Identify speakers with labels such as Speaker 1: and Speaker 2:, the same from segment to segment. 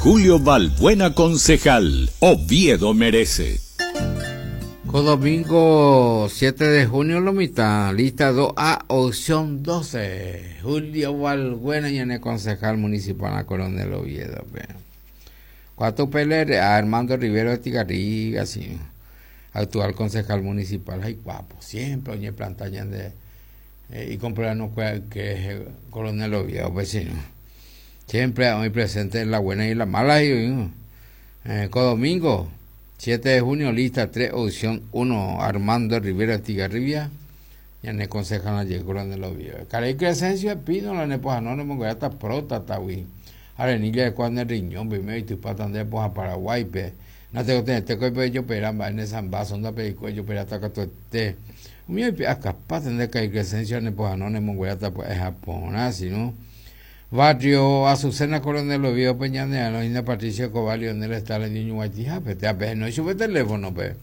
Speaker 1: Julio Balbuena concejal, Oviedo merece.
Speaker 2: Ko domingo 7 de junio lo mitã, lista 2A, opción 12. Julio Balbuena ñane concejal municipal a Coronel Oviedo. Pe. Cuatro PLRA, Armando Rivero de Tigarriga, sí. Actual concejal municipal, ay guapo, siempre oñe planta ñande eh, y no que Coronel Oviedo, vecino. Siempre hoy presente en la buena y la mala. Y, eh, co domingo 7 de junio, lista 3, opción 1, Armando Rivera Tigarribia. Ñane concejal ayer Coronel Oviedo. Caray Crescencio Espino, la nepoja no, no me hasta próstata, wi. Arenilla de cuando el riñón, primero y tu pata de poja Paraguay, pe. No tengo que tener que yo pera, en esa vaso, onda pe yo pera hasta que te. Umi oipe'a de Caray Crescencio nepoja no, no hasta pues Japón, así, ¿no? Barrio Azucena Coronel Oviedo Peñanea, Inda Patricia Cobalio, en el está el niño Guatija, pe, no sube teléfono, pe.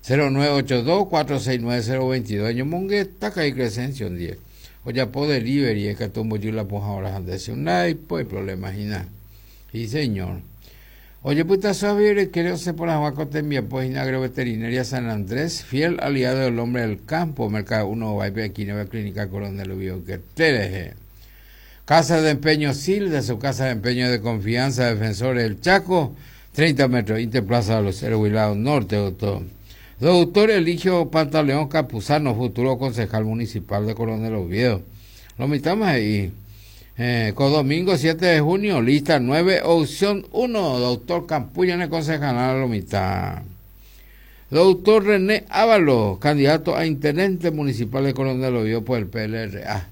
Speaker 2: 0982-469-022, yo mongueta Caray Crescencio, 10. O ya po delivery, es que tumbo yo la poja ahora antes un pues problema y nada. Sí, señor. Oye, puta suave, creo se por la Juacotemia, pues Agroveterinaria San Andrés, fiel aliado del hombre del campo, Mercado 1, va aquí, Nueva Clínica Coronel Oviedo, que te Casa de Empeño Sil, de su casa de empeño de confianza, Defensores del Chaco, 30 metros, Interplaza de los Héroes Norte, doctor. Doctor Eligio Pantaleón Campuzano, futuro concejal municipal de Coronel Oviedo. Lo mitamos ahí. Eh, con domingo 7 de junio, lista 9, opción 1, doctor Campulla en el concejal a lo mitad. Doctor René Ábalos, candidato a intendente municipal de Coronel Oviedo por el PLRA.